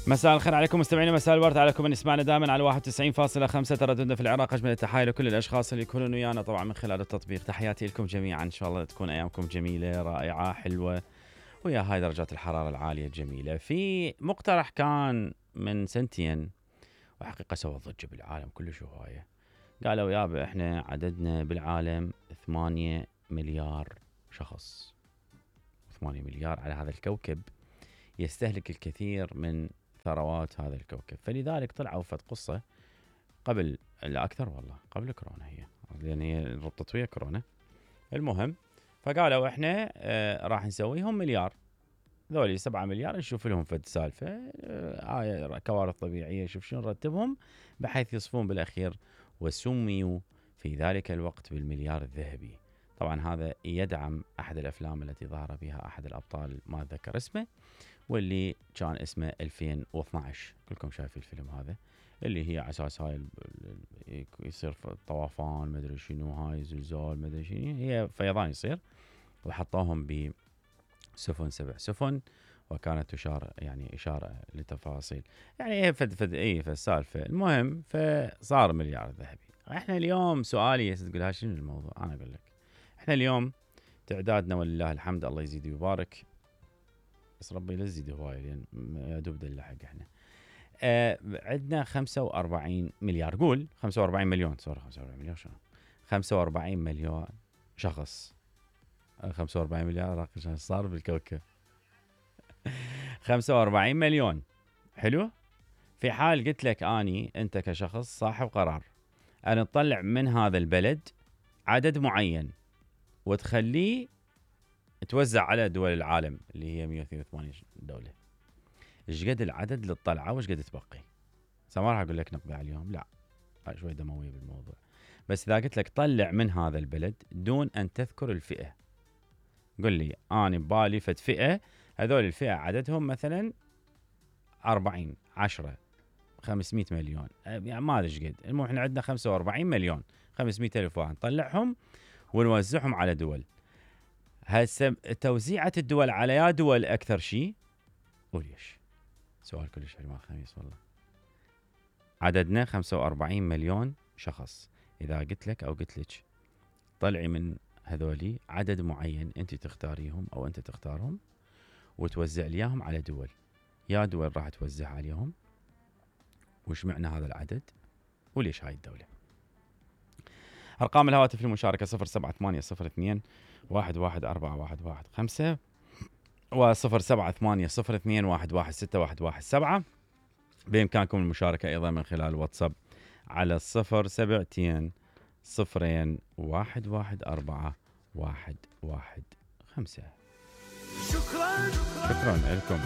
مساء الخير عليكم مستمعينا، مساء الورد عليكم من يسمعنا دائما على 91.5 ترددنا في العراق. اجمل التحايا لكل الاشخاص اللي يكونون ويانا طبعا من خلال التطبيق. تحياتي لكم جميعا، ان شاء الله تكون ايامكم جميله رائعه حلوه ويا هاي درجات الحراره العاليه الجميله. في مقترح كان من سنتين وحقيقه سوى ضجه بالعالم كلش هوايه. قالوا يابا احنا عددنا بالعالم 8 مليار شخص، 8 مليار على هذا الكوكب، يستهلك الكثير من ثروات هذا الكوكب. فلذلك طلعوا فد قصة قبل لا أكثر والله قبل كورونا، هي لأن هي ربطت ويا كورونا. المهم فقالوا إحنا راح نسويهم مليار، ذولي 7 مليار نشوف لهم فد سالفة كوارث طبيعية، شوف شنو نرتبهم بحيث يصفون بالأخير. وسميوا في ذلك الوقت بالمليار الذهبي. طبعا هذا يدعم أحد الأفلام التي ظهر بها أحد الأبطال ما أتذكر اسمه، واللي كان اسمه 2012. كلكم شايفين الفيلم هذا، اللي هي على اساس هاي يصير طوفان مدري شنو، هاي زلزال مدري شنو، هي فيضان يصير، وحطوهم بسفن 7 سفن، وكانت تشار يعني اشاره لتفاصيل يعني فد السالفه. المهم فصار مليار ذهبي. احنا اليوم سؤالي تقول شنو الموضوع، انا اقول لك احنا اليوم تعدادنا ولله الحمد الله يزيد ويبارك، بس ربي لا يزيد هواي لان يا دوب دلحق. احنا عندنا 45 مليار، قول 45 مليون، سوري 45 مليون شنو، 45 مليون شخص. 45 مليار شنو صار بالكوكب؟ 45 مليون. حلو. في حال قلت لك اني انت كشخص صاحب قرار ان تطلع من هذا البلد عدد معين وتخليه توزع على دول العالم اللي هي 182 دولة، ايش قد العدد للطلعة وايش قد تبقي؟ ما راح اقول لك نقضي عليهم، لا شوي دموية بالموضوع. بس اذا قلت لك طلع من هذا البلد دون ان تذكر الفئة، قل لي انا ببالي فد فئة، هذول الفئة عددهم مثلا 40 10 500 مليون، يعني ما ادري ايش قد. المهم احنا عندنا 45 مليون 500 الف واحد، نطلعهم ونوزعهم على دول. هسه توزيعة الدول على يا دول أكثر شيء، وليش؟ سؤال كلش حلو خميس والله. عددنا 45 مليون شخص، إذا قلت لك أو قلت لك طلعي من هذولي عدد معين أنت تختاريهم أو أنت تختارهم وتوزع ليهم على دول، يا دول راح توزع عليهم، وش معنى هذا العدد وليش هاي الدولة؟ أرقام الهواتف للمشاركة 07802 114115 و07802116117. بإمكانكم المشاركة أيضا من خلال واتساب على 072 0 114 115. شكرا لكم.